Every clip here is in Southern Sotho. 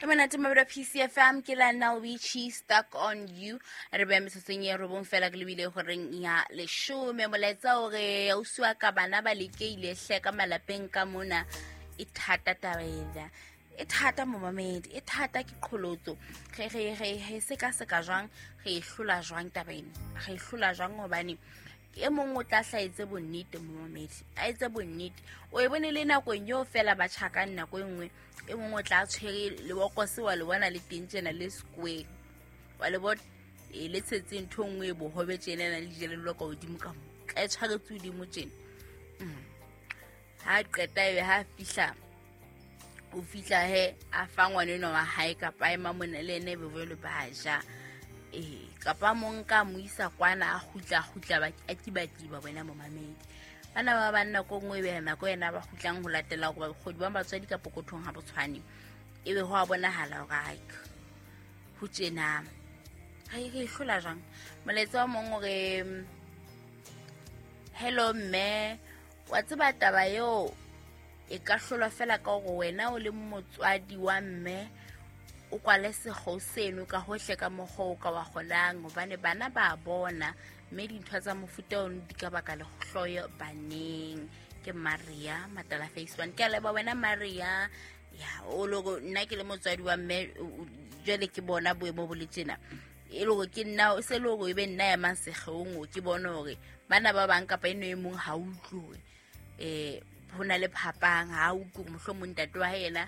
E monate mabelo PCFM ke la Nalwichi Stuck on You. Re beya metsotsong e robong fela ke lebile goreng ya leshome. Molaetsa o re ausi wa ka bana ba lekeile hle ka malapeng ka mona. E thata taba ena, e thata momamedi, e thata ke qholotso. Re sekaseka jwang, re e hlola jwang taba ena, re e hlola jwang? Hobane e mong o tla hlaetse bonnete momamedi, a etse bonnete, o e bone le nakong eo fela ba tjhakang. Nako e nngwe e mongwe o tla tshwere lebokose, wa le bona le teng tjena le square, wa le bona e le tshetse ntho e nngwe e bohobe tjena na le dijelello ka hodimo ka mo, tla e tshwaretse hodimo tjena. Ha qeta ebe ha fihla, o fihla he a fa ngwana enwa wa hae, kapa a ema mona le ene, ebe jwale ba ja. Ee, kapa mo nka mo isa kwana, a kgutla, a kgutla a kibakiba. Wena momamedi, bana ba banna ko nngwe ebe nako ena ba kgutlang ho latela hore bokgodi ba batswadi ka pokothong ha bo tshwane, ebe ho a bonahala hore ai, ho tjena re e hlola jwang? Molaetsa wa mong o re, hello mme, wa tseba taba eo e ka hlolwa fela ka hore wena o le motswadi wa mme o kwale sekgo seno ka hohle ka mokgwa o ka wa kgonang, hobane bana ba bona, mme dintho tsa mofuta ono di ka baka lehloyo baneng. Ke Maria Matala Face One. Ke a leboha wena Maria. Ya o loko nna ke le motswadi wa mme, jwale ke bona boemo bo le tjena, e le hore ke nna se le hore e be nna emang sekgeong, ke bone hore bana ba bang kapa eno e mong ha utlwe hore ho na le phapang, ha utlwe hore mohlomong ntate wa hae yena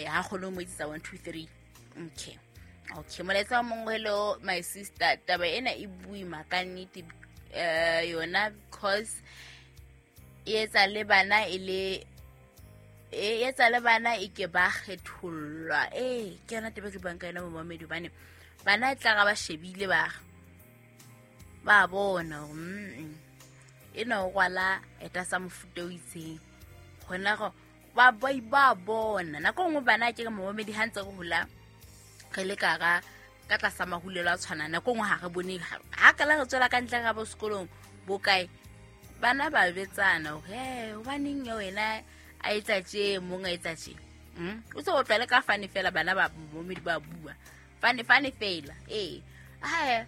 ha kgone ho mo etsetsa 1 2 3. Okay, molaetsa wa mongwe, hello my sister, taba ena e boima ka nnete yona, because e etsa le bana e le e etsa le bana e ke ba kgethollwa. Ee, ke yona taba ke buang ka yona momamedi, hobane bana e tla ga ba shebile, ba bona hore ena o rwala eta sa mofuta o itseng, gona go ba bona. Nako nngwe bana ke re momamedi, ha ntse re hola re le kara ka tlasa mahulelo a tshwanang, nako nngwe ha re bone ha kala re tswela ka ntle ga bo sekolong bo kae, bana ba betsana hore he hobaneng ya wena a etsa tje, mong a etsa tje. O se o tlwale ka fane fela, bana ba momedi ba bua fane fane fela. Ee, hae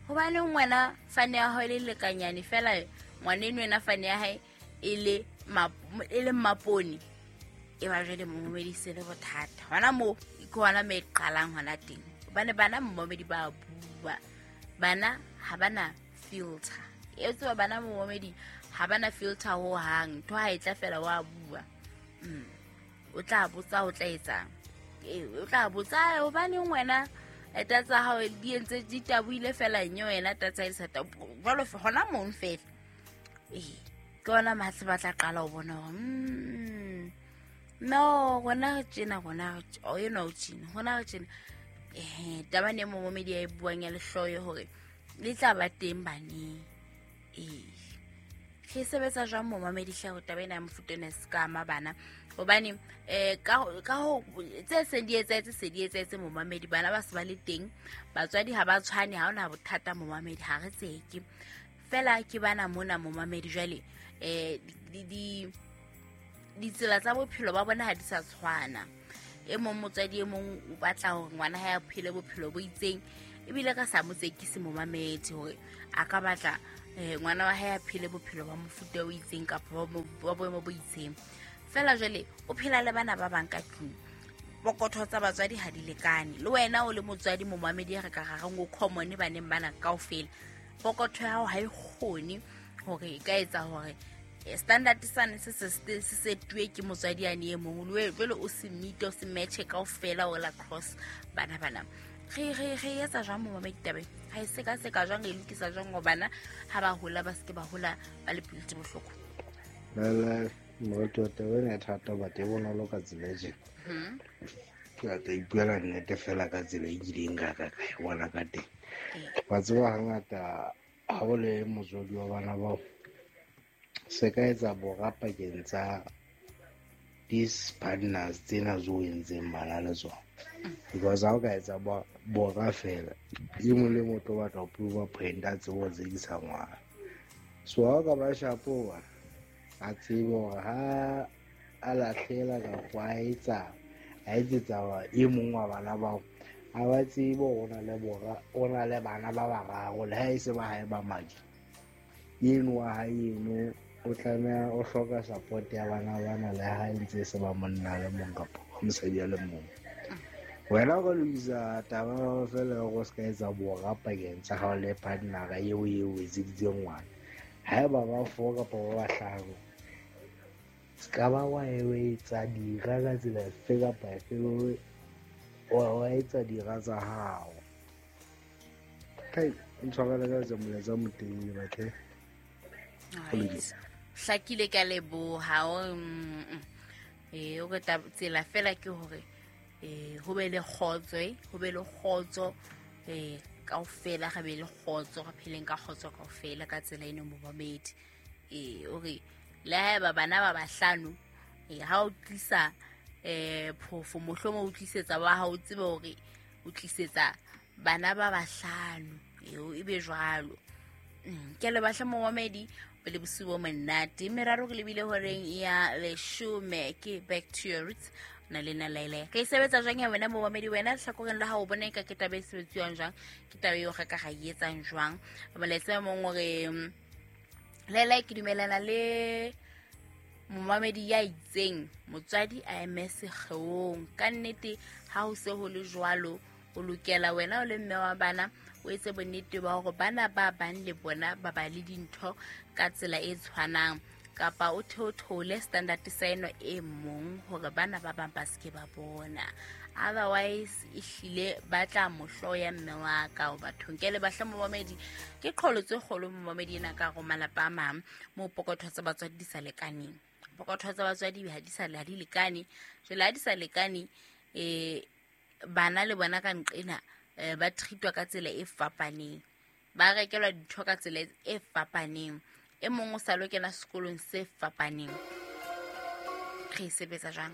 hobaneng wena fane ya hao e le lekanyane fela, ngwaneno wena fane ya hae e le mmapone? E ba jwale momedi se le bothata hona moo, ke hona mo e qalang hona teng, hobane bana momedi ba bua, bana ha bana filter e tseba, bana momedi ha bana filter ho hang, ntho ha e tla fela wa bua. O tla botsa, o tla etsang? Ee, o tla botsa, "Ai, hobaneng wena eta tsa hao di entse di taboile fela, nye wena ta tsa e sa jwalo hona mong fela?" Ee, ke ona matle ba tla qala ho bona hore no rona re tjena, rona o enwa o tjena, rona re tjena. Ehe, taba ne momomedi ya e buang ya lehloyo hore le tla ba teng baneng. Ee, re sebetsa jwang momamedi hle ho taba ena ya mofuta ena e se ka ama bana? Hobane ka ho tse seng di etsahetse, se di etsahetse momamedi, bana ba se ba le teng, batswadi ha ba tshwane, ha hona bothata momamedi, ha re tseke fela ke bana mona momamedi. Jwale ditsela tsa bophelo ba bona ha di sa tshwana. E mong motswadi e mong o batla hore ngwana hae a phele bophelo bo itseng, ebile ka sa mo tsekise momamedi hore a ka batla ngwana wa hae a phele bophelo ba mofuta o itseng kapa ba boemo bo itseng fela. Jwale o phela le bana ba bang ka tlung, pokotho tsa batswadi ha di lekane. Le wena o le motswadi momamedi, re ka rareng o common baneng bana kaofela, pokotho ya hao ha e kgone hore e ka etsa hore standard sane se setuwe ke motswadi yane e mong le jwale o se meete, o se matche kaofela o la cross bana. Bana re etsa jwang momamedi tabeng ga e sekaseka jwang, re e lokisa jwang gore bana ha ba hola ba seke ba hola ba le pelo tse bohloko? Lele morati wa taba ena e thata, but e bonolo ka tsela e tjena. Ke batla ipuela nnete fela ka tsela e kileng ka e bona ka teng. Wa tseba, hangata ha o le motswadi wa bana bao, se ka etsa bora pakeng tsa these partners tsena tse o entseng bana le tsona, because ha o ka etsa bora fela, e mong le mong o tlo batla ho prove a point, a tsebe ho tsekisa ngwana. So ha o ka ba shapo, bana a tsebe hore ha a lahlela kapa a etsa A etsetsa e mong wa bana bao. Ha ba tsebe o na le bora, o na le bana ba bararo le ha e se ba hae ba madi. Eno wa hae eno o tlameha o hloka support ya bana bana le ha e ntse se ba monna le mong kapa mosadi a le mong. Wena o ka lokisa taba fela hore o se ka etsa bora pakeng tsa hao le partner-a eo eo etseditseng ngwana. Haeba ba four kapa ba bahlano, se ka ba wa etsa dira ka tsela efe kapa efe, wa etsa dira tsa hao. Kai, ntshwarele ka etsa molaetsa o motelele batle. Hlakile ka leboha. O re tsela fela ke hore ho be le kgotso, ho be le kgotso, kaofela re be le kgotso, re pheleng ka kgotso kaofela ka tsela eno momamedi. O re le haeba bana ba bahlano, ha o tlisa phofo mohlomong o tlisetsa wa hao, o tsebe hore o tlisetsa bana ba bahlano, e be jwalo. Ke le batla momamedi o le bosiu bo monate. Meraro re lebile horeng ya leshome ke Back to Your Roots na le nna Laila. Re e sebetsa jwang ya wena momamedi? Wena lehlakoreng la hao o bona eka ke taba e sebetsiwang jwang, ke taba eo re ka ra e etsang jwang? Molaetsa mong o re Laila, ke dumelana le momamedi ya itseng motswadi a eme sekgeong. Ka nnete ha ho se ho le jwalo, o lokela wena o le mme wa bana o etse bonnete ba hore bana ba bang le bona ba ba le dintho ka tsela e tshwanang, kapa o theothole standard sa eno e mong hore bana ba bang ba seke ba bona. Otherwise ehlile ba tla mo hloya mme wa ka o bathong. Ke le bahle momamedi, ke qholotso e kgolo momamedi ena ka hare malapa a mang moo pokotho tsa batswadi di sa lekaneng. Pokotho tsa batswadi ha di sa ha di lekane. Jwale ha di sa lekane, bana le bona ka nqena ba treatwa ka tsela e fapaneng, ba rekelwa dintho ka tsela e fapaneng, e mong o sa lo kena sekolong se fapaneng. Re e sebetsa jwang?